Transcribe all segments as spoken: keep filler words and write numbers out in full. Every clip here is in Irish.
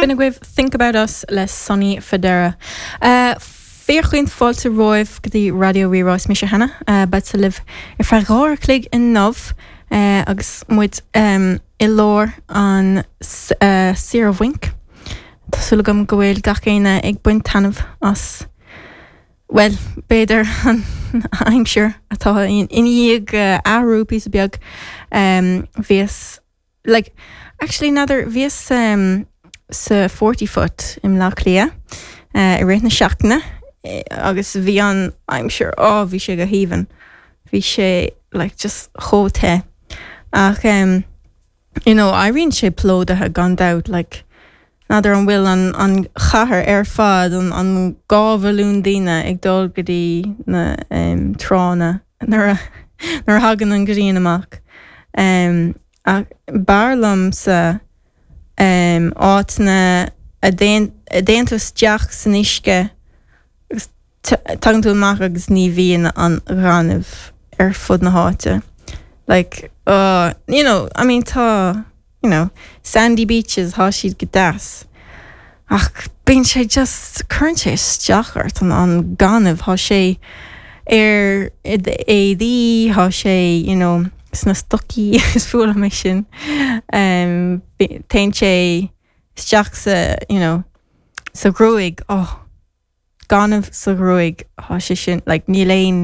B'in agaibh Think About Us le Sonny Fodera. Uh, Fíorchaoin fáilte romhaibh go dtí Raidió Rí-Rá is mise Hannah uh, beidh libh ar feadh dhá uair a chloig inniu uh, agus muid um, i lár an uh, saoire bhainc. Tá súil agam go bhfuil gach éinne ag baint taitneamh as well b'fhéidir an aimsir atá in ina uh, athrú píosa beag um, bhíos like actually n'fheadar bhíos um, sa Forty Foot i mBleá Cliath uh, i rith na seachtaine eh, agus bhí an aimsir á bhí sé go haoibhinn bhí sé like just chomh te ach um, you know éiríonn sé plódaithe gan dabht like n'fheadar an bhfuil an an chathair ar fad an an dhá mhilliún daoine ag dul go dtí na um, tránna nuair a nuair a thagann an ghrian amach um, ach b'fhearr liomsa um, áiteanna a dtéann tú isteach san uisce agus tagann tú amach agus ní bhíonn an gaineamh ar fud na háite. Like uh, you know, I mean tá you know, sandy beaches tá siad go deas. Ach bíonn sé just cuireann sé isteach ort an an gaineamh tá sé ar éadaí tá sé you know, sna stocaí is fuath liom é sin um, téann sé isteach sa you know, sa ghruaig oh, gaineamh sa ghruaig tá sé sin like, níl aon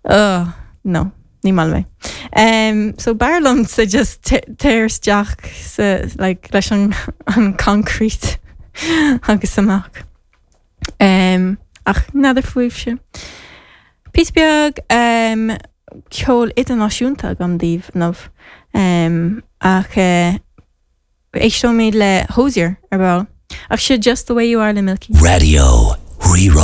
uh, no ní maith liom é. Um, so b'fhearr liomsa just téir isteach sa like, leis an, an concrete agus amach. Um, ach n'fheadar fúibhse. Píosa beag um, ceol idirnáisiúnta agam daoibh inniu um, ach uh, éisteoimid le Hozier ar ball. Ach seo just the way you are le Milky. Raidió Rí-Rá.